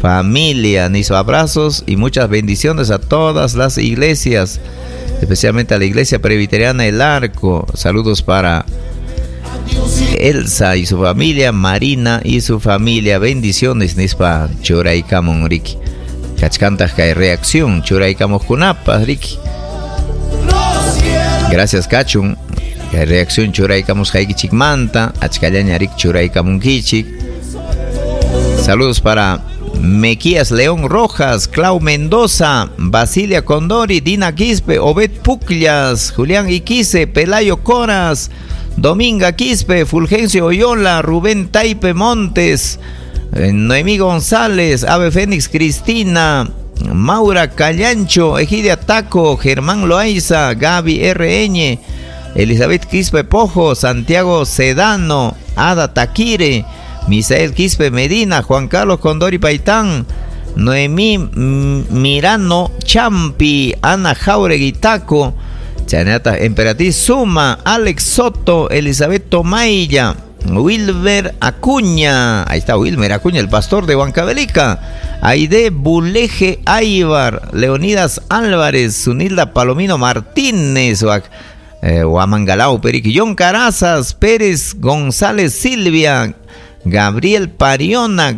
Familia, nispa abrazos y muchas bendiciones a todas las iglesias, especialmente a la Iglesia Presbiteriana El Arco. Saludos para Elsa y su familia, Marina y su familia. Bendiciones, nispa churaykamun riki. Kachkantaq kay reacción churaykamuqkunapas riki. Gracias kachun. Kay reacción churaykamusqaykichikmanta, achkallaña riki churaykamunkichik. Saludos para Mequías León Rojas, Clau Mendoza, Basilia Condori, Dina Quispe, Obed Pucllas, Julián Iquise, Pelayo Coras, Dominga Quispe, Fulgencio Oyola, Rubén Taipe Montes, Noemí González, Ave Fénix Cristina, Maura Callancho, Egidia Taco, Germán Loaiza, Gaby R. Elizabeth Quispe Pojo, Santiago Sedano, Ada Taquire, Misael Quispe Medina, Juan Carlos Condori Paitán, Noemí Mirano Champi, Ana Jauregui Taco, Chanata Emperatriz Suma, Alex Soto, Elizabeth Tomaya, Wilmer Acuña, ahí está Wilmer Acuña, el pastor de Huancavelica, Aide Buleje Aybar, Leonidas Álvarez, Zunilda Palomino Martínez, Huamangalao Periqui, John Carazas, Pérez González Silvia, Gabriel Pariona,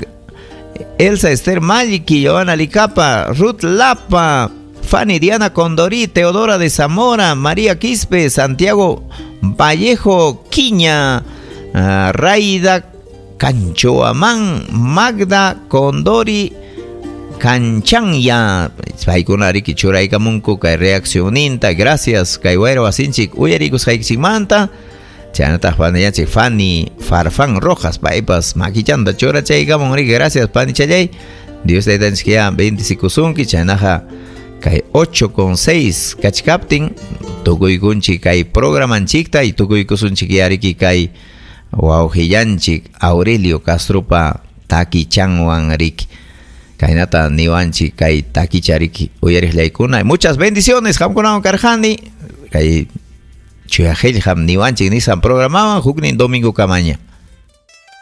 Elsa Esther Maliki, Joana Licapa, Ruth Lapa, Fanny Diana Condorí, Teodora de Zamora, María Quispe, Santiago Vallejo Quiña, Raida Canchoamán, Magda Condori Canchanya. Paykuna riki churaykamunku kay reaccioninta. Gracias kay wayra wasinchik uyarikusqaykichikmanta. Chaynataq panillanchik Fanny Farfán Rojas paypas makichanta churachaykamun riki. Gracias panichallay. Dios taytanchik ya bendicikusunki. Chaynaqa kay 8:06 kachkaptin tukuykunchik kay programanchikta y tukuykusunchik yariki kay wawqillanchik Aurelio Castropa takichanwan riki. Kaynata niwanchik kay takicha riki uyariqllaykuna. Muchas bendiciones qamkunawan karqani kay Chuyaqillqam niwanchik nisqan programawan huknin domingo kamaña.